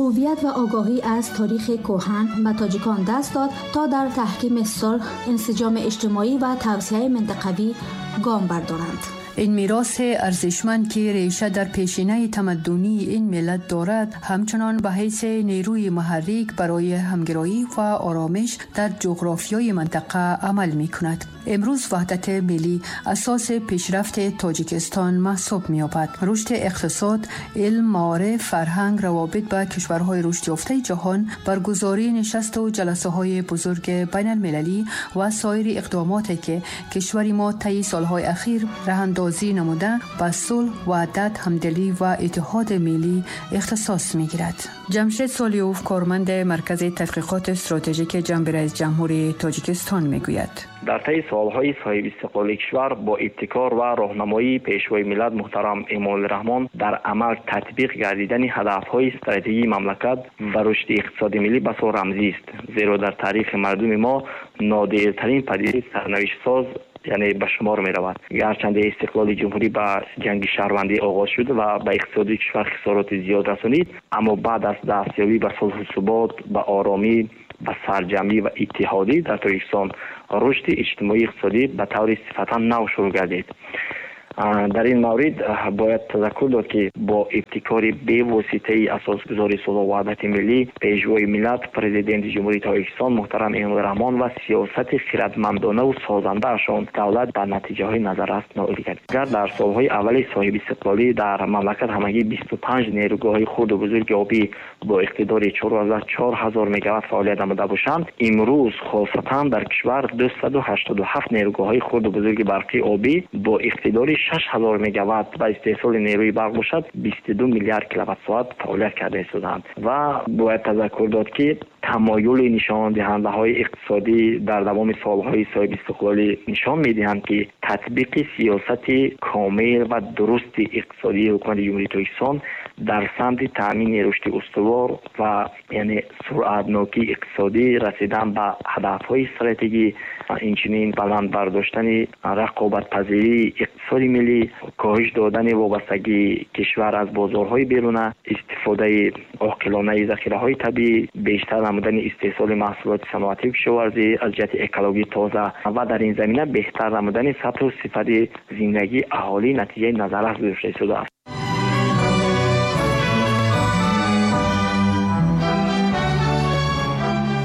هویت و آگاهی از تاریخ کهن به تاجیکان دست داد تا در تحکیم صلح، انسجام اجتماعی و توسعه منطقوی گام بردارند. این میراث ارزشمند که ریشه در پیشینه تمدنی این ملت دارد، همچنان به حیث نیروی محرک برای همگرایی و آرامش در جغرافیای منطقه عمل می کند. امروز وحدت ملی اساس پیشرفت تاجیکستان محسوب می یابد. رشد اقتصاد، علم، معارف، فرهنگ، روابط با کشورهای رشد یافته جهان، برگزاری نشست و جلسه های بزرگ بین المللی و سایر اقداماتی که کشور ما طی سالهای اخیر راه اندازی نموده به صلح، وحدت، همدلی و اتحاد ملی اختصاص می‌گیرد. جمشید سالیوف، کارمند مرکز تحقیقات استراتژیک جنب رئیس جمهوری تاجیکستان، میگوید: در طی سالهای صاحب استقلال کشور با ابتکار و راهنمایی پیشوای ملت محترم امامعلی رحمان در عمل تطبیق گردیدن هدف‌های استراتژی مملکت و رشد اقتصاد ملی بسا رمزی است، زیرا در تاریخ مردم ما نادرترین پدیده سرنوشت ساز یعنی به شمار می رود. گرچند استقلال جمهوری به جنگ شهروندی آغاز شد و به اقتصاد کشور خسارات زیاد رسانید، اما بعد از دستیابی به صلح و ثبات، به آرامی، به سرجمعی و اتحادی در تاجیکستان رشد اجتماعی اقتصادی به طور صفتا نو شروع گردید. در این مورد باید تذکر داد که با ابتکار بی‌واسطه اساسگذاری صلح و وحدت ملی، پیشوای ملت، پرزیدنت جمهوری تاجیکستان محترم امامعلی رحمان و سیاست خردمندانه و سازنده‌شان دولت به نتیجه‌های نظررس نائل گردید. اگر در سال‌های اول صاحب استقلالی در مملکت همگی 25 نیروگاه‌های خرد و بزرگ آبی با اقتدار 4.4 هزار مگاوات فعالیت نموده باشند، امروز خاصتاً در کشور 287 نیروگاه‌های خرد و بزرگ برقی آبی با اقتدار 6000 مگاوات و استحصال نیروی برق باشد 22 میلیارد کیلووات ساعت فعالیت کرده استادند. و باید تذکر داد که تمایل نشان دهنده های اقتصادی در دوام سالهای صاحب استقلالی نشان می‌دهند که تطبیق سیاست کامل و درست اقتصادی حکومت جمهوری تاجیکستان در سمت تامین رشد استوار و یعنی سرعتناکی اقتصادی، رسیدن به هدف‌های استراتژی، اینچنین بلند برداشتن رقابت‌پذیری اقتصاد ملی، کاهش دادن وابستگی کشور از بازارهای بیرونه، استفاده عاقلانه ذخیره‌های طبیعی، بیشتر نمودن استحصال محصولات صنعتی و کشاورزی از جهت اکولوژی تازه و در این زمینه بهتر نمودن سطح و صفت زندگی اهالی نتیجه نظررس گرفته شده است.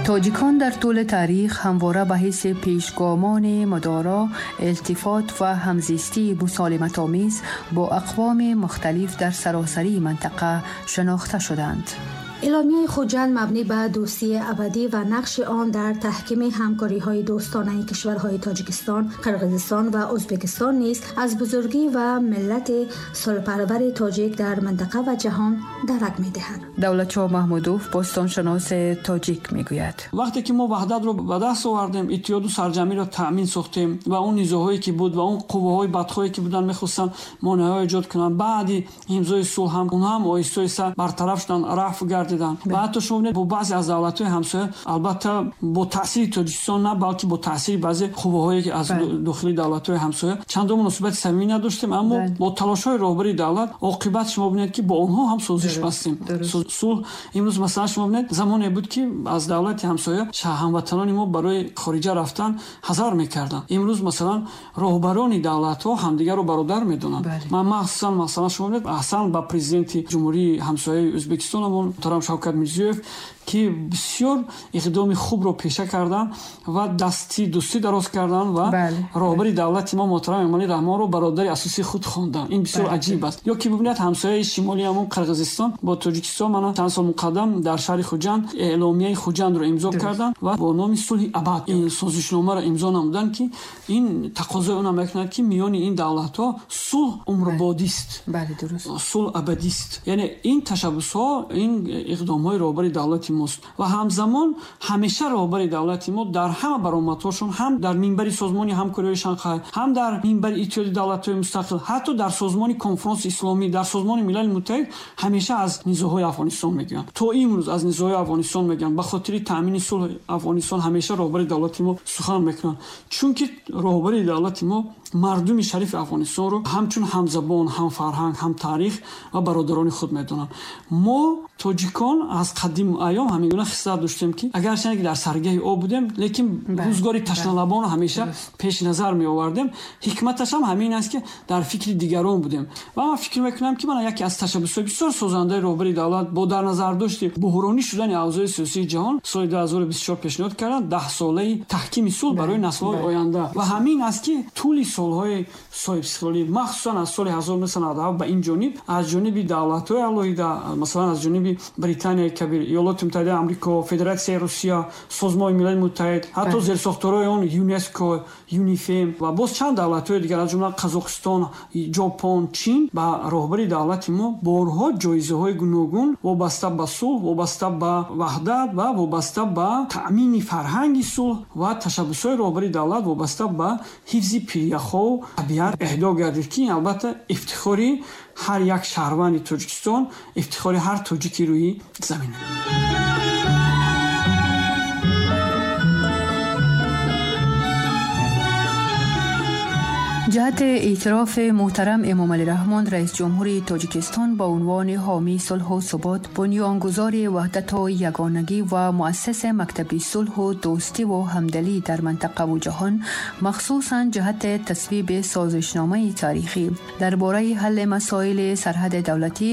تاجیکان در طول تاریخ همواره به حیث پیشگامان مدارا، التفات و همزیستی مسالمت‌آمیز با اقوام مختلف در سراسری منطقه شناخته شدند. اعلامیه خوجند مبنی بر دوستی ابدی و نقش آن در تحکیم همکاری‌های دوستانه کشورهای تاجیکستان، قرقیزستان و ازبکستان نیز از بزرگی و ملت صلح‌پرور تاجیک در منطقه و جهان درک می‌دهد. دولتشاه محمودوف، باستانشناس تاجیک، می‌گوید: وقتی که ما وحدت رو به دست آوردیم، اتحاد و سرجمعی را تأمین ساختیم و اون نزاع‌هایی که بود و اون قوه‌های بدخواهی که بودن می‌خواستن مانع‌های ایجاد کنن، بعد امضای صلح هم اونها هم آهسته آهسته برطرف شدن، رفع گردیدن. و حتی شما ببینید با بعضی از دولت‌های همسایه، البته با تاثیر تاجیکستان نه، بلکه با تاثیر بعضی قوه‌هایی که از داخلی دولت‌های همسایه چند مناسبت صمیمی نداشتیم، اما با تلاش‌های راهبری دولت عاقبت شما ببینید که با آنها هم سازش بستیم. صلح امروز مثلا شما ببینید زمانی بود که از دولت همسایه هموطنان ما برای خارجه رفتن حذر می‌کردن. امروز مثلا راهبران دولت‌ها همدیگر رو برادر می‌دونن. من مخصوصا مثلا شما ببینید احسن با پرزیدنت جمهوری همسایه ازبکستان محترم شوکت میرزیوف که بسیار اقدام خوب رو پیشه کردن و دستی دوستی دراز کردن و راهبر دولت ما محترم امامعلی رحمان رو برادر اساسی خود خواندن. این بسیار عجیب است. یا که ببینید همسایه شمالی همون قرقیزستان با تاجیکستان من چند سال مقدم در شهر خوجند اعلامیه خوجند رو امضا کردن و با نام صلح ابد این سازشنامه رو امضا نمودن که این تقاضای اونم میکند که میان این دولت‌ها صلح عمربادی است. بله درست. صلح ابدی است. یعنی این تشبث‌ها، این اقدام‌های راهبر دولت мост. Ва ҳамзамон ҳамеша роҳбари давлати мо дар ҳама баромадҳошон, ҳам дар минбари Созмони ҳамкориҳои Шанхай, ҳам дар минбари Иттиҳоди давлатҳои мустақил, ҳатто дар Созмони Конфронси Исломӣ, дар Созмони Милали Муттаҳид ҳамеша аз низоъҳои Афғонистон мегӯянд. То имрӯз аз низоъҳои Афғонистон мегӯянд. Ба хотири таъмини сулҳи Афғонистон ҳамеша роҳбари давлати мо сухан мекунанд, чунки роҳбари давлати мо мардуми шарифи Афғонистонро ҳамчун ҳамзабон, ҳамфарҳанг, ҳамтаърих ва бародарони худ медонанд. Мо тоҷикон аз қадим айём ҳамин гуна хислат доштем, ки агарчанде ки дар саргаҳи об будем, лекин рӯзгори ташналабонро ҳамеша пеш назар меовардем. Ҳикматаш ҳам ҳамин аст, ки дар фикри дигарон будем. Ва ман фикр мекунам, ки мана яке аз ташаббусҳои бисёр созандаи роҳбари давлат бо дар назардошти буҳронӣ шудани авзои сиёсии ҷаҳон соли 2024 пешниҳод карданд 10-солаи таҳкими сулҳ барои наслҳои оянда. Ва ҳамин аст, ки тӯли солҳои соҳибистиқлолӣ, махсусан аз соли 1997 ба ин ҷониб, аз ҷониби давлатҳои алоҳида, масалан аз ҷониби Британияи Кабир, Иёлоти Муттаҳидаи Амрико, Федератсияи Русия, Созмони Милали Муттаҳид, ҳатто зерсохторҳои он ЮНЕСКО, ЮНИФЕМ ва боз чанд давлатҳои дигар, аз ҷумла Қазоқистон, Ҷопон, Чин, ба роҳбари давлати мо борҳо ҷоизаҳои гуногун вобаста ба сулҳ, вобаста ба ваҳдат ва вобаста ба таъмини фарҳанги сулҳ ва ташаббусҳои роҳбари давлат вобаста ба ҳифзи пиряхҳо табиат эҳдо гардид, ки ин албатта ифтихори ҳар як шаҳрванди Тоҷикистон, ифтихори ҳар тоҷики рӯи замин. ҷиҳати эътирофи муҳтарам Эмомалӣ Раҳмон, раис ҷумҳури Тоҷикистон, ба унвони ҳомии сулҳу субот, бунёнгузори ваҳдату ягонагӣ ва муассиси мактаби сулҳу дӯстиву ҳамдалӣ дар минтақаву ҷаҳон, махсусан ҷиҳати тасвиби созишномаи таърихӣ дар бораи ҳалли масоили сарҳади давлатӣ.